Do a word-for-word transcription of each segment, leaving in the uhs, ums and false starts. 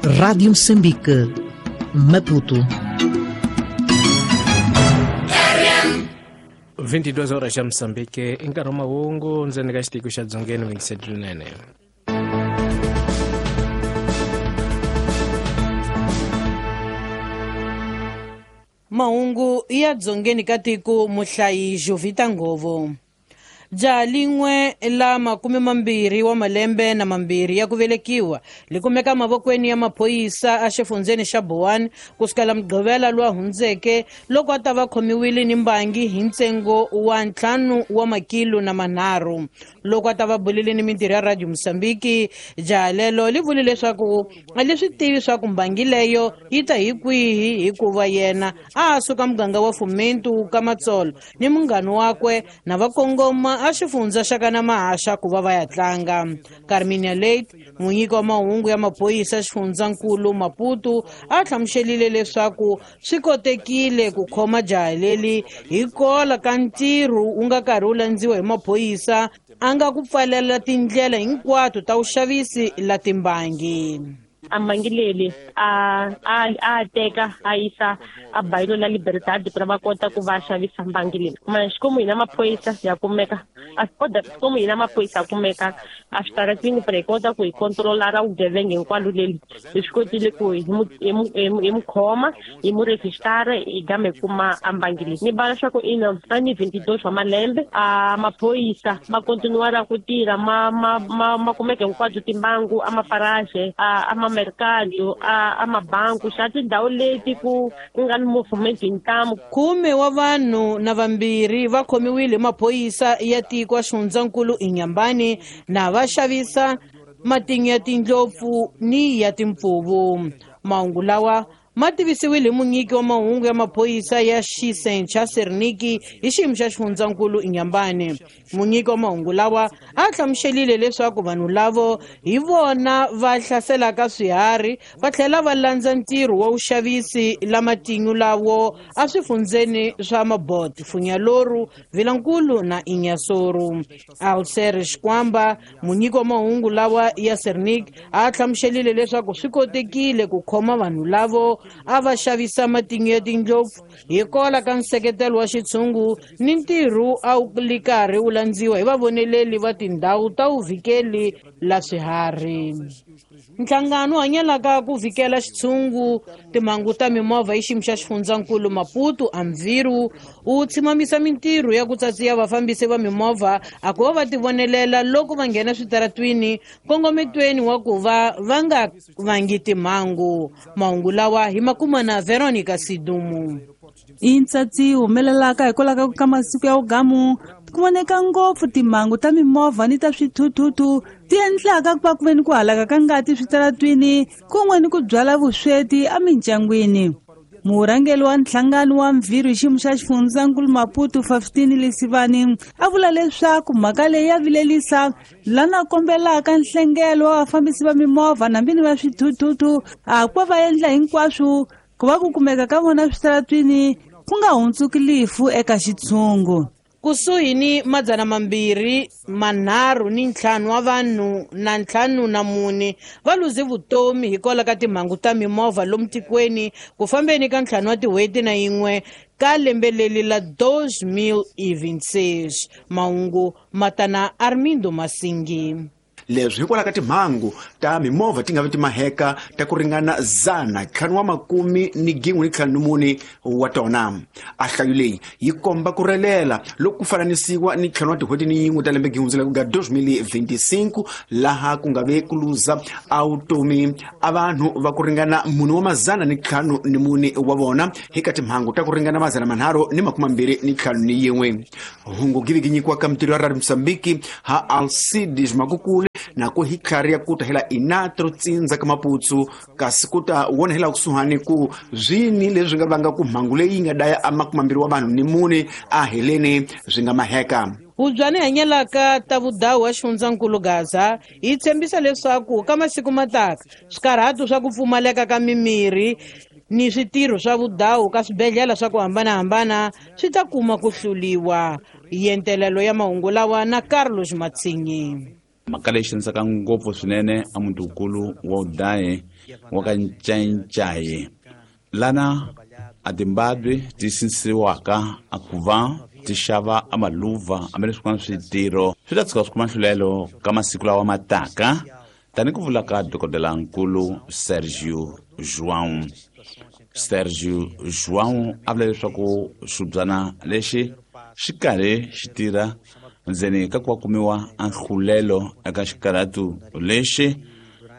Rádio Moçambique, Maputo. vinte e duas horas já Moçambique, em Karoma Ungo, nzeni ka xitiko xa Dzongeni Wingisedlunene. Mahungu ya Dzongeni ka tiko muhlayi Jovita Ngovo. Jaha lin'we la makume mambirhi wa malembe na mambirhi ya ku velekiwa li kumeka mavokweni ya maphorisa a xifundzeni xa Boane kusukela Mugqivela lowa hundzeke loko a ta va khomiwile ni mbangi hi ntsengo wa ntlhanu wa makilo na manharhu. Loko a ta va bulile ni mintirho ya Radio Mozambique, jaha lelo li vule leswaku a li swi tivi swa ku mbangi leyo yi ta hi kwihi hikuva yena a suka muganga wa Fomento ka Matsolo ni munghana wakwe na va kongoma a xifundza xa kana mahaxa ku va va ya tlanga. Carminia Late, munyiki wa mahungu ya maphorisa xifundzankulu Maputo, a hlamuselile leswaku swi kotekile ku khoma jaha leri hi kola ka ntirho wu nga karhi wu landziwa hi maphorisa a nga ku pfalela tindlela hinkwato ta vuxavisi la timbangi. A mbangi a a a teka a yisa a bairro la Liberdade para va kota ku va xavisa mbangi leyi. Mas como hina maphorisa ya kumeka a kota como hina maphorisa ya kumeka a switaratini para hi kota ku hi controlar vugevenga hinkwalo leli hi swi kotile ku hi mu hi mu khoma hi mu registara hi game kuma a mbangi leyi. Ni bala swa ku ina a ni vinte e dois wa malembe a maphorisa ma continuar ku tirha ma ma ma ma kumeka hinkwabyo timbangu a mafarage a a mercado a a mabanku xa tindhawu leti ku ku nga ni movement hi ntamu. Khume wa vanhu na vambirhi va khomiwile hi maphorisa ya tiko xifundzankulu Inhambane na va xavisa matinyo ya tindlopfu ni ya timpfuvu. Mahungu lawa ma tivisiwile hi munyiki wa mahungu ya maphorisa ya Xisencha Serniki hi xiyimo xa xifundzankulu Inhambane. Munyiki wa mahungu lawa a hlamuselile leswaku vanhu lavo hi vona va hlaselaka swiharhi va tlhela va landza ntirho wa vuxavisi la matinyo lawo a swifundzeni swa Mabot, Funyaloru, Vilankulu na Inhassoro. Alcer Xikwamba, munyiki wa mahungu lawa ya Sernik, a hlamuselile leswaku swi kotekile ku khoma vanhu lavo a va xavisa matinyo ya tindlopfu hi kola ka nseketelo wa xitshungu ni ntirho a wu li karhi wu landziwa hi vavoneleli va tindhawu ta vuvhikeli la swiharhi. Nhlangano wu hanyelaka ku vhikela xitshungu timhangu ta mimovha hi xiyimo xa xifundzankulu Maputo Amviru wu tshimamisa mintirho ya ku tsatsiya vafambisi va mimovha a ku va va tivonelela loko va nghena switaratwini nkongometweni wa ku va va nga vangi timhangu. Mahungu lawa hi makuma na Veronica Sidumu. I ntsatsi humelelaka hikwalaho ka masiku ya vugamu ku voneka ngopfu timhangu ta mimovha ni ta swithuthuthu ti endlaka ku va ku ve ni ku halaka ka ngati switaratwini kun'we ni ku byala vusweti emindyangwini. Murhangeri wa nhlangano wa Mviri hi xiyimo xa xifundzankulu Maputo Faustini Lesivani a vula leswaku mhaka leyi ya vilelisa lana kombelaka nhlengelo wa vafambisi va mimovha na vini va swithuthuthu a ku va va endla hinkwaswo ku va ku kumeka ka vona switaratwini ku nga hundzuki lifu eka xitshungu. Kusuhi ni madzana mambirhi manharhu ni ntlhanu wa vanhu na ntlhanu na mune va luze vutomi hikwalaho ka timhangu ta mimovha lomu tikweni ku fambeni ka ntlhanu wa tin'hweti na yin'we ka lembe leri la dois mil e vinte e seis. Mahungu matana Armindo Masingi. Leswi hikwalaho ka timhangu ta mimovha ti nga vi ti maheka ta ku ringana zana ntlhanu wa makumi ni gin'we ni ntlhanu ni mune wa tona. A nhlayo leyi yi komba ku relela loko ku fananisiwa ni ntlhanu wa tin'hweti ni yin'we ta lembe gihundzela ku nga dois mil e vinte e cinco laha ku nga ve ku luza a vutomi a vanhu va ku ringana mune wa mazana ni ntlhanu ni mune wa vona hi ka timhangu ta ku ringana mazana manharhu ni makume mambirhi ni ntlhanu ni yin'we. Hungu givi gi nyikiwaka mintirho ya Radio Mozambique ha Alcides Makukule na ku hi tlhari ya ku ta hela inatro tsindza ka Maputsu kasi ku ta wona hela kusuhani ku zwini leswi nga vanga ku mhangu leyi nga daya a makume mambirhi wa vanhu ni mune a heleni swi nga maheka. Hubyani hanyelaka ta vudawu wa xifundzankulu Gaza yi tshembisa leswaku ka masiku mataka swikarhato swa ku pfumaleka ka mimirhi ni switirho swa vudawu ka swibedhlele swa ku hambanahambana swi ta kuma ku hluliwa. Yentelelo ya mahungu lawa na Carlos Matsinyi. Mhaka leyi xanisaka ngopfu swinene a mutikulu wa udayi wa ka Ncaincayi lana a timbabwe ti sinisiwaka a ku va ti xava a maluva hambi leswi swin'wana switirho swi ta tshuka swi kuma nhlulelo ka masiku lawa ma taka tani ku vula ka dokodelankulu Sergio João. Sergio João a vula leswaku xibyana lexi xi karhi xi tirha ndzeni ka ku va kumiwa a nhlulelo eka xikarhatu lexi.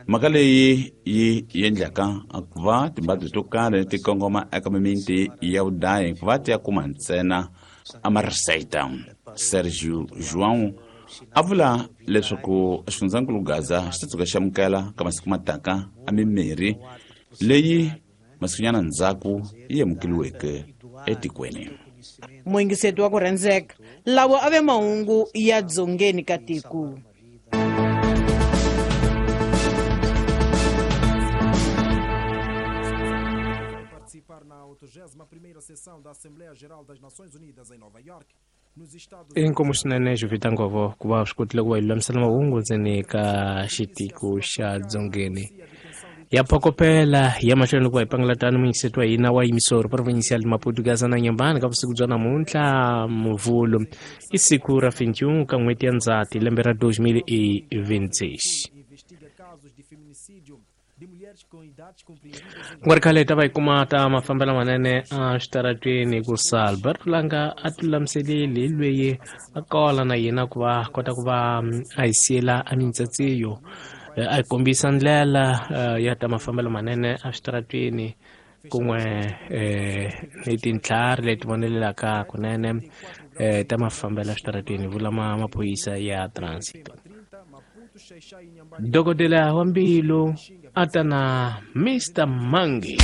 Mhaka leyi yi endlaka ku va timbabwe to karhi ti kongoma eka mimiti ya vudayi ku va ti ya kuma ntsena a mariseta. Sergio João a vula leswaku xifundzankulu Gaza xi ta tshuka xi amukela ka masiku mataka a mimirhi leyi masikunyana ndzhaku yi amukeliweke etikweni. Muyingiseti wa ku rhandzeka lawa a ve mahungu ya dzongeni ka tiko. Inkomu swinene Jovita Ngovo ku va swi kotile ku va hi lulamisela mahungu ndzeni ka xitiko xa dzongeni ya phokopela ya mahlweni ku va hi pangela tano muyingiseti wa hina wa yimisoro provincial Maputo Gaza na Nyambani ka vusiku bya namuntlha Muvhulu i siku ra vintiun ka n'hweti ya Ndzhati lembe ra dois mil e vinte e seis. Ku nga ri khale hi ta va hi kuma ta mafambelo manene a switaratweni ku Albert Langa a ti lulamiseleli hi lweyi a kola na yena ku va kota ku va a hi siyela a mintsatsiyo a hi kombisa ndlela ya ta mafambelo manene a switaratweni kun'we ni tintlhari leti vonelelaka kunene ta mafambelo a switaratweni vula maphorisa ya transit. Dokodela wa mbilu a ta na Mister Mangi.